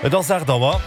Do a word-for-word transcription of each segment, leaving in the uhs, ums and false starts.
Et ass aacht Auer.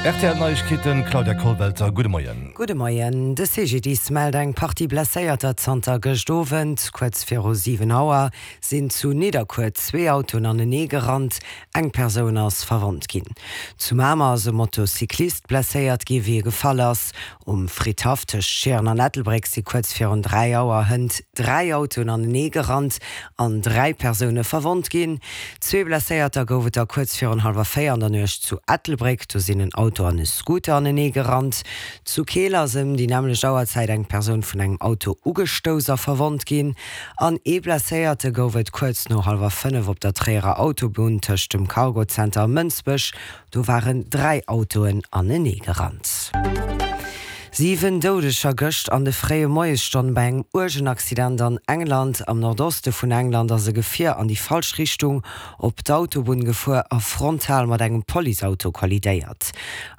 Rtl Neiegkeeten, Claudia Kollwelter, gudde Moien. Gudde Moien. De CGDIS mellt eng Partie Blesséierter zanter gëscht Owend. Kuerz viru siwen Auer sinn zu Nidderkuer zwee Autoen anenee gerannt. Eng Persoun ass verwonnt ginn. Zu Mamer ass e Motocyclist blesséiert gi wéi e gefall ass. Um Fridhaff tëscht Schieren an Ettelbréck si kuerz virun dräi Auer hënt dräi Autoen anenee gerannt an dräi Persoune verwonnt ginn. Zwee Blesséierter gouf et da kuerz virun hallwer véier an der Nuecht zu Ettelbréck. Do sinn en Auto an e Scooter anenee gerannt. Zu Keel ass ëm déi nämmlecht Auerzäit eng Persoun vun engem Auto ugestouss a verwonnt ginn. An ee Blesséierte gouf et kuerz no hallwer fënnef op der Tréierer Autobunn tëscht dem Cargozenter a Mënsbech. Do waren dräi Autoen anenee gerannt. Siwen Doudeger gëscht an de fréie Moiesstonne bei engem uergen Accident an England. Am Nordoste vun England ass e Gefier an déi falsch Richtung op d'Autobunn gefuer a frontal mat engem Policeauto kollidéiert.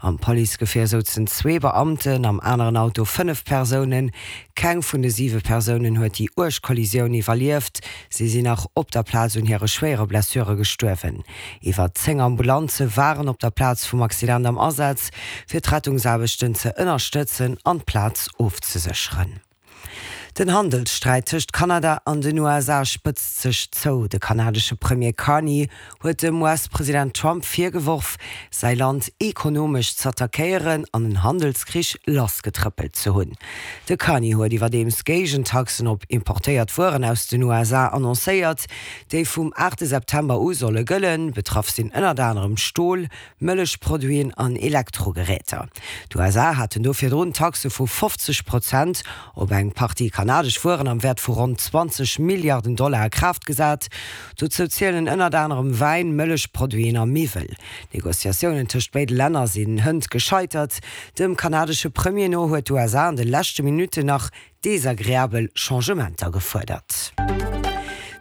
Am Policegefier souzen zwee Beamten, am aneren Auto fënnef Persounen. Keng vun de siwe Persounen huet déi uerg Kollisioun iwwerlieft. Si sinn nach op der Plaz un hire schwéiere Blessure gestuerwen. Iwwer zéng Ambulanze waren op der Plaz vum Accident am Asaz, fir d'Rettungsaarbechten ze ënnerstëtzen an d'Plaz ofzesécheren. Den Handelssträit tëscht Kanada an den U S A spëtzt sech zou. De kanadesche Premier Carney huet dem U S-President Trump virgeworf, säi Land ekonomesch z'attackéieren an en Handelskrich lassgetrëppelt ze hunn. De Carney huet iwwerdeems Géigentaxen op importéiert Wueren aus den U S A annoncéiert, déi vum aachte September u solle gëllen. Betraff sinn ënnert anerem Stol, Mëllechproduiten an Elektrogeräter. D'U S A haten do virdrun Taxe vu fofzeg Prozent op eng Partie kanadesch Wueren am Wäert vu ronn zwanzeg Milliarden Dollar a Kraaft gesat. Dozou zielen ënnert anerem Wäin, Mëllechproduiten a Miwwel. D'Negociatiounen tëscht béide Länner sinn hënt gescheitert. Dem kanadesche Premier no huet d'U S A an de leschte Minutten nach desagreabel Changementer gefuerdert.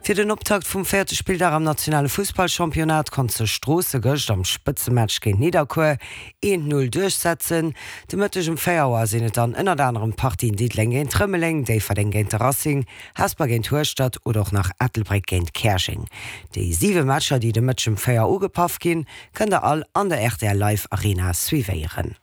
Fir den Optakt vum véierte Spilldag am nationale Fussballchampionnat konnt sech Stroosse gëscht am Spëtzematch géint Nidderkuer eent null duerchsetzen. De Mëtteg um véier Auer sinn et dann ënnert anerem d'Partien Diddeleng géint Rëmeleng, Déifferdeng géint de Racing, Hesper géint Hueschtert oder och nach Ettelbréck géint Käerjeng. Déi siwe Matcher, déi de Mëtteg um véier ugepaff ginn, kënnt der all an der R T L Live Arena suivéieren.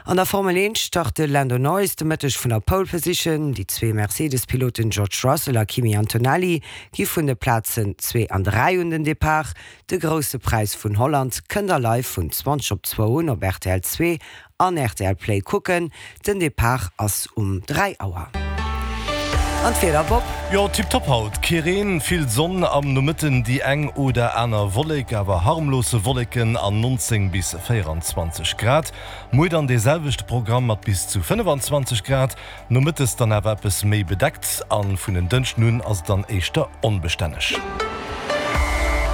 An der Formel eent start de Lando Norris de Mëtteg vun der Pole Position. Déi zwee Mercedes-Piloten George Russell a Kimi Antonelli gi vun de Plazen zwee an dräi un den Depart. De grousse Präis vun Holland kënnt der live vun zwanzeg op zwou un op R T L zwee an R T L Play kucken. Den Depart ass um dräi Auer. An d'Wieder, Bob? Jo, tipptopp haut. Kee Reen, vill Sonn am Nomëtten, déi eng oder aner Wollek, awer harmlose Wolleken an neunzéng bis véieranzwanzeg Grad. Muer dann dee selwechte Programm mat bis zu fënnefanzwanzeg Grad. Nomëttes dann awer eppes méi bedeckt an vun den Dënschden un ass et dann éischter onbestänneg.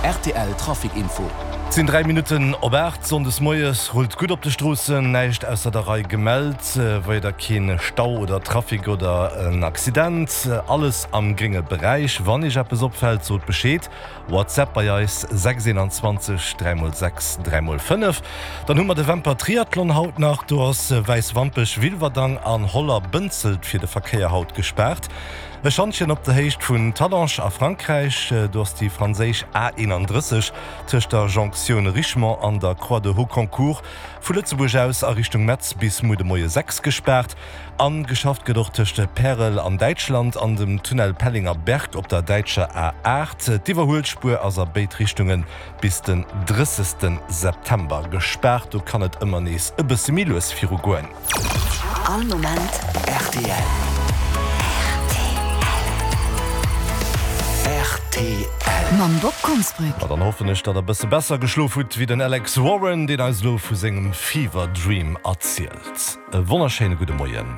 R T L Trafic Info. Et sinn dräi Minutten op aacht. Sonndes moies rullt gutt op de Stroossen, näischt ausser der Rei gemellt, weider keen Stau oder Trafic oder en Accident. Alles am grénge Beräich. Wann iech eppes opfält, sot Bescheed. WhatsApp bei eis sechs eenanzwanzeg dräi mol sechs dräi mol fënnef. Dann hu mer de Wemper Triathlon haut nach. Do ass Wäiswampech, Wilwerdang an Holler Bënzelt fir de Verkéier haut gespaart. E Schantjen op der Héicht vun Talange a Frankräich, do ass déi franséisch A eenanddrësseg tëscht der Jonktioun Richemont an der Croix de Hauconcourt vu Lëtzebuerg aus a Richtung Metz bis muer de Moie sechs gespaart. An geschafft gëtt och tëscht Pärel an Däitschland an dem Tunnel Pellinger Berg op der däitscher A aacht. D'Iwwerhuelspuer ass a béid Richtungen bis den drëssegste September gespaart. Do kann et ëmmer nees e bësse méi lues virugoen. All Moment R T L. R T L. Mam Bob Konsbrück. Ma dann hoffen ech, datt der bësse besser geschlof hutt wéi den Alex Warren, deen eis elo vu sengem Fever Dream erzielt. E wonnerschéine gudde Moien.